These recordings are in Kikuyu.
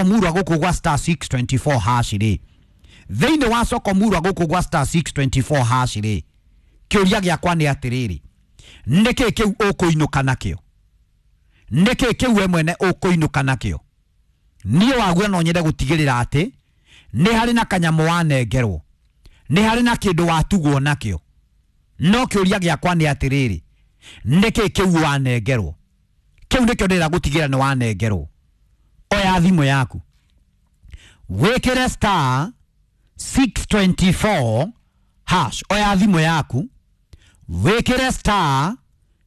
Murwa gũkũ gwa star 624 hash rĩ, thĩinĩ wa soko murwa gũkũ gwa star 624 hash rĩ, kĩũria gĩakwa nĩ atĩrĩrĩ, nĩkĩ kĩu ũkũinũka nakĩo? Nĩkĩ kĩu we mwene ũkũinũka nakĩo? Niĩ waguo no nyende gũtigĩrĩra atĩ nĩ harĩ na kanyamũ wanengerwo, nĩ harĩ na kĩndũ watugwo nakĩo. No kĩũria gĩakwa nĩ atĩrĩrĩ, nĩkĩ kĩu wanengerwo? Kĩu nĩkĩo ndĩrenda gũtigĩrĩra nĩ wanengerwo. Oya thimũ yaku wĩkĩre star 624 hash. Oya thimũ yaku wĩkĩre star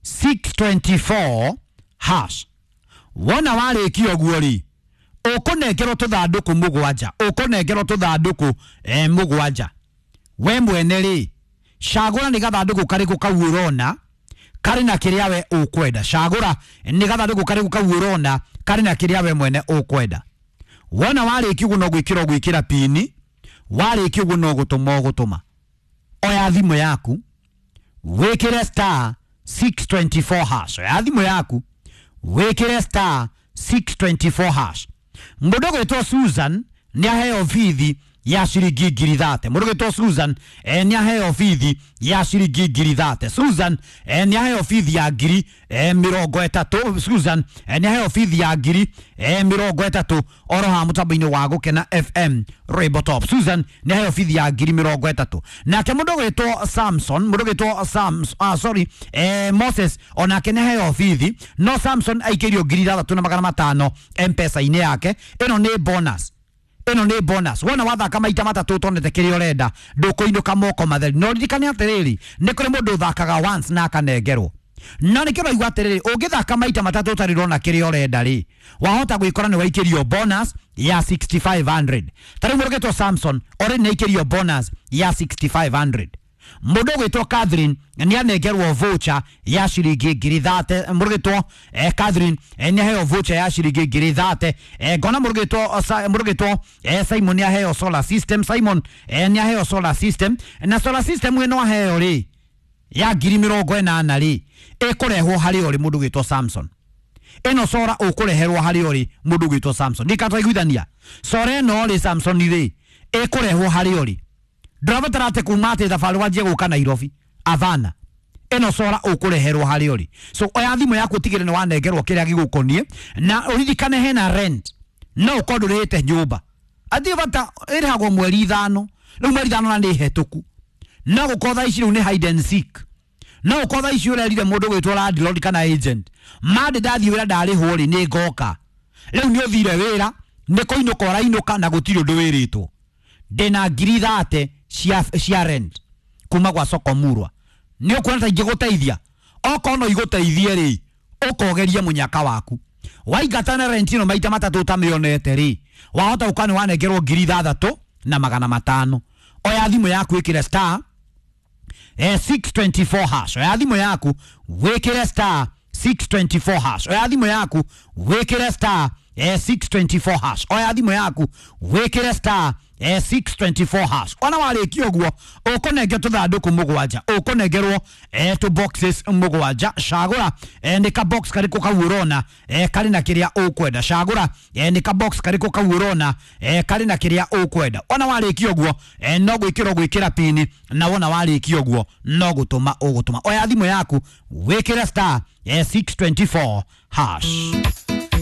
624 hash. Wona warĩkia ũguo rĩ, ũkũnengerwo tũthandũkũ mũgwanja, ũkũnengerwo tũthandũkũ mũgwanja. We mwene rĩ, cagũra nĩ gathandũkũ karĩkũ kau ũrona karĩ na kĩrĩa we ũkwenda. Cagũra nĩ gathandũkũ karĩkũ kau ũrona karĩ na kĩrĩa we mwene ũkwenda. Wona warĩkia ũguo no gwĩkĩra ũgwĩkĩra pini, warĩkia ũguo no gũtũma ũgũtũma. Oya thimũ yaku wĩkĩre star 624 hash. Oya thimũ yaku wĩkĩre star 624 hash. Mũndũ ũgwĩtwo Susan nĩ aheo bithi ya ciringi 30,000. Mũndũ ũgwĩtwo Susan nĩ aheo bithi ya ciringi 30,000. Susan nĩ aheo bithi ya 30,000. Susan nĩ aheo bithi ya 30,000 oro ha mũtambo-inĩ wa Gũkena FM Rainbow Top. Susan nĩ aheo bithi ya 30,000. Nake mũndũ ũgwĩtwo Samson, mũndũ ũgwĩtwo sorry, Moses onake nĩ aheo bithi, no Samson aikĩrio 6,500 M-Pesa-inĩ yake. Ĩno nĩ bonus, ĩno nĩ bonus. Wona wathaka maita matatũ ũtonete kĩrĩa ũrenda, ndũkũinũka moko matheri. No ririkane atĩrĩrĩ, nĩ kũrĩ mũndũ ũthakaga once na akanengerwo. No nĩkĩo ũraigua atĩrĩrĩ, ũngĩthaka maita matatũ ũtarĩ ũrona kĩrĩa ũrenda rĩ, wahota gwĩkora nĩ waikĩrio bonus ya 6500. Ta rĩu mũndũ ũgwĩtwo Samson already nĩ aikĩrio bonus ya 6500. Mũndũ ũgwĩtwo Catherine nĩ anengerwo voucher ya ciringi 30,000. Mũndũ ũgwĩtwo Catherine nĩ aheo voucher ya ciringi 30,000. Ngona mũndũ ũgwĩtwo Simon nĩ aheo solar system. Simon nĩ aheo solar system, na solar system ĩno aheo rĩ ya 80,000 rĩ, ĩkũrehwo harĩ ũrĩ mũndũ ũgwĩtwo Samson. Ĩno sora ũkũreherwo harĩ ũrĩ mũndũ ũgwĩtwo Samson. Ndikatwaiguithania sora ĩno rĩ, Samson rĩ, ĩkũrehwo harĩ ũrĩ. Ndũrabatara atĩ kuma atĩ thabarĩ wanjie gũka Nairobi, avana. Ĩno sora ũkũreherwo harĩ ũrĩ. So oya thimũ yaku ũtigĩrĩre nĩ wanengerwo kĩrĩa gĩgũkoniĩ, na ũririkane hena rent. No ũkorwo ndũrĩhĩte nyũmba, atĩ bata ĩrĩhagwo mweri 5, rĩu mweri 5 na nĩ hetũku. No gũkorwo thaa ici rĩu nĩ hide and seek. No ũkorwo thaa ici ũrerire mũndũ ũgwĩtwo landlord kana agent, mandĩ ndathiĩ wĩra ndarĩhwo rĩ, nĩ ngoka. Rĩu nĩ ũthire wĩra, nĩ kũinũka ũrainũka na gũtirĩ ũndũ wĩrĩtwo. Ndĩna 30,000 cia rent kuma gwa soko murwa. Nĩ ũkuona ta ingĩgũteithia? Okorwo no igũteithie rĩ, ũkogerie mũnyaka waku. Waingata na rent ĩno maita matatũ ũtamĩonete rĩ, wahota gũkorwo nĩ wanengerwo 6,500. Oya thimũ yaku ĩkĩre star 624 hash. Oya thimũ yaku wĩkĩre star 624 hash. Oya thimũ yaku wĩkĩre star 624 hash. Oya thimũ yaku wĩkĩre star 624 hash. Ona warĩkia ũguo ũkũnengerwo tũthandũkũ mũgwanja, ũkũnengerwo tũ boxes mũgwanja. Cagũra nĩ ka box karĩkũ kau ũrona karĩ na kĩrĩa ũkwenda. Cagũra nĩ ka box karĩkũ kau ũrona karĩ na kĩrĩa ũkwenda. Ona warĩkia ũguo no gwĩkĩra ũgwĩkĩra pini, na wona warĩkia ũguo no gũtũma ũgũtũma. Oya thimũ yaku wĩkĩre star 624 hash.